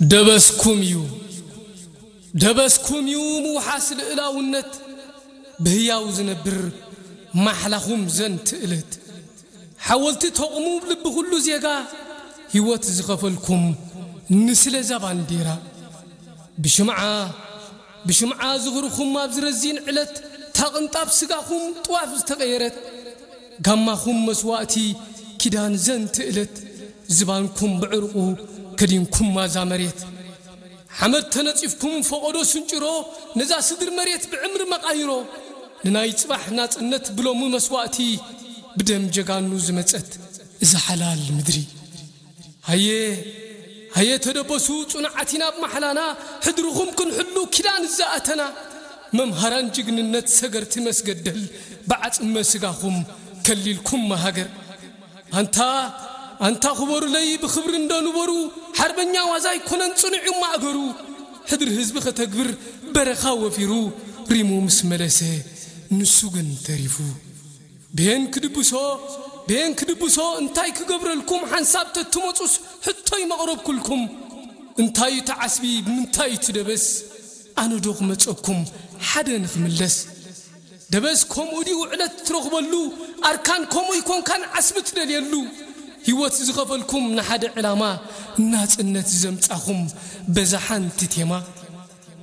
ደበስኩም እዩ፣ ደበስኩም እዩ ምውሓስ ልእላውነት፣ ብህያው ዝነብር ማሕላኹም ዘንትእለት። ሓወልቲ ተቑሙ ልቢ ኩሉ ዜጋ፣ ህይወት ዝኸፈልኩም ንስለ እዛ ባንዴራ። ብሽምዓ፣ ብሽምዓ ዝኽርኹም ኣብ ዝረዚን ዕለት፣ ታቕንጣብ ስጋኹም ጥዋፍ ዝተቐየረት፣ ጋማኹም መስዋእቲ ኪዳን ዘንትእለት፣ ዝባንኩም ብዕርቑ ከዲንኩም ማዛ መሬት። ሓመድ ተነጺፍኩም ፈቐዶ ስንጭሮ፣ ነዛ ስድር መሬት ብዕምሪ መቓይሮ። ንናይ ጽባሕ ናጽነት ብሎሚ መስዋእቲ፣ ብደም ጀጋኑ ዝመጸት እዛ ሓላል ምድሪ። ሃየ፣ ሃየ ተደበሱ ጽኑዓት ኢና ኣብ ማሕላና፣ ሕድርኹም ክንሕሉ ኪዳን ዝኣተና። መምሃራን ጅግንነት ሰገርቲ መስገደል፣ ብዓጽመ ስጋኹም ከሊልኩም ሃገር። ኣንታ፣ ኣንታ ክበሩለይ ብኽብሪ እንዶ ንበሩ፣ ሓርበኛ ዋዛ ኣይኮነን ጽኑዕ እዩ ማእገሩ። ሕድሪ ህዝቢ ከተግብር በረኻ ወፊሩ፣ ሪሙ ምስ መለሰ ንሱ ግን ተሪፉ። ብሄን ክድብሶ፣ ብሄን ክድብሶ እንታይ ክገብረልኩም ሓንሳብ ተትመጹስ ሕቶይ መቕረብኩልኩም። እንታይ እዩ እቲ ዓስቢ ብምንታይ እዩ እቲ ደበስ? ኣነ ዶ ክመጸኩም ሓደ ንኽምለስ? ደበስ ከምኡ ድዩ ዕለት ትረኽበሉ? ኣርካን ከምኡ ይኮንካን ዓስቢ ትደልየሉ? ህይወት ዝኸፈልኩም ንሓደ ዕላማ፣ ናጽነት ዘምጻኹም በዛ ሓንቲ ቴማ።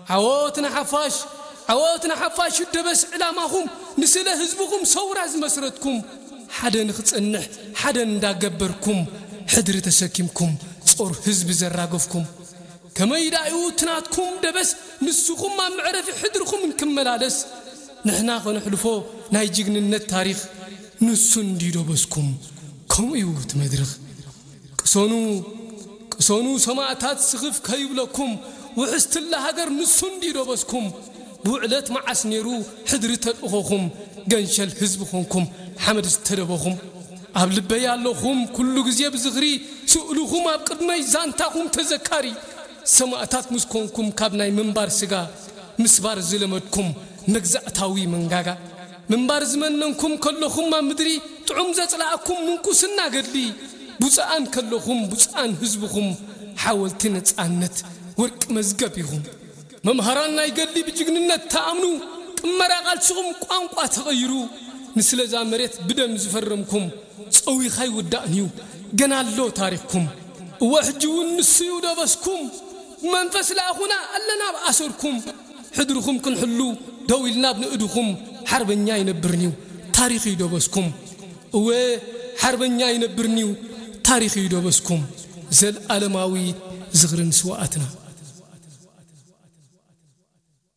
ዓወት ንሓፋሽ፣ ዓወት ንሓፋሽ ደበስ ዕላማኹም፣ ንስለ ህዝብኹም ሰውራ ዝመስረትኩም፣ ሓደ ንኽጸንሕ ሓደ እንዳገበርኩም፣ ሕድሪ ተሰኪምኩም ጾር ህዝቢ ዘራገፍኩም። ከመይ ዳዩ እቲ ናትኩም ደበስ ንስኹም ኣብ መዕረፊ ሕድርኹም እንክመላለስ፣ ንሕና ኸነሕልፎ ናይ ጅግንነት ታሪኽ ንሱ እንድዩ ደበስኩም። ከምኡ እዩ እቲ መድረኽ። ቅሰኑ፣ ቅሰኑ ሰማእታት ስኽፍ ከይብለኩም፣ ውሕስትላ ሃገር ንሱ እንድዩ ደበስኩም። ብውዕለት መዓስ ነይሩ ሕድሪ ተልእኾኹም፣ ገንሸል ህዝቢ ኾንኩም ሓመድ ዝተደበኹም። ኣብ ልበይ ኣለኹም ኩሉ ግዜ ብዝኽሪ፣ ስእልኹም ኣብ ቅድመይ ዛንታኹም ተዘካሪ። ሰማእታት ምስ ኮንኩም ካብ ናይ ምንባር ስጋ፣ ምስባር ዝለመድኩም መግዛእታዊ መንጋጋ። ምንባር ዝመነንኩም ከለኹም ኣብ ምድሪ፣ ጥዑም ዘጽላኣኩም ምንኩስና ገድሊ። ቡጽኣን ከለኹም ቡጽኣን ህዝብኹም፣ ሓወልቲ ነጻነት ወርቂ መዝገብ ኢኹም። መምሃራን ናይ ገድሊ ብጅግንነት ተኣምኑ፣ ቅመራ ቃልስኹም ቋንቋ ተቐይሩ። ንስለዛ መሬት ብደም ዝፈረምኩም፣ ጸዊኻ ይውዳእን እዩ ገና ኣሎ ታሪኽኩም። እወ ሕጂ እውን ንሱ እዩ ደበስኩም። ብመንፈስ ለኣኹና ኣለና ኣብ ኣሰርኩም። ሕድርኹም ክንሕሉ ደው ኢልና ኣብ ንእድኹም። ሓርበኛ ኣይነብርን እዩ ታሪኽ እዩ ደበስኩም። እወ ሓርበኛ ኣይነብርን እዩ ታሪኽ እዩ ደበስኩም። ዘልኣለማዊ ዝኽሪ ንስውኣትና።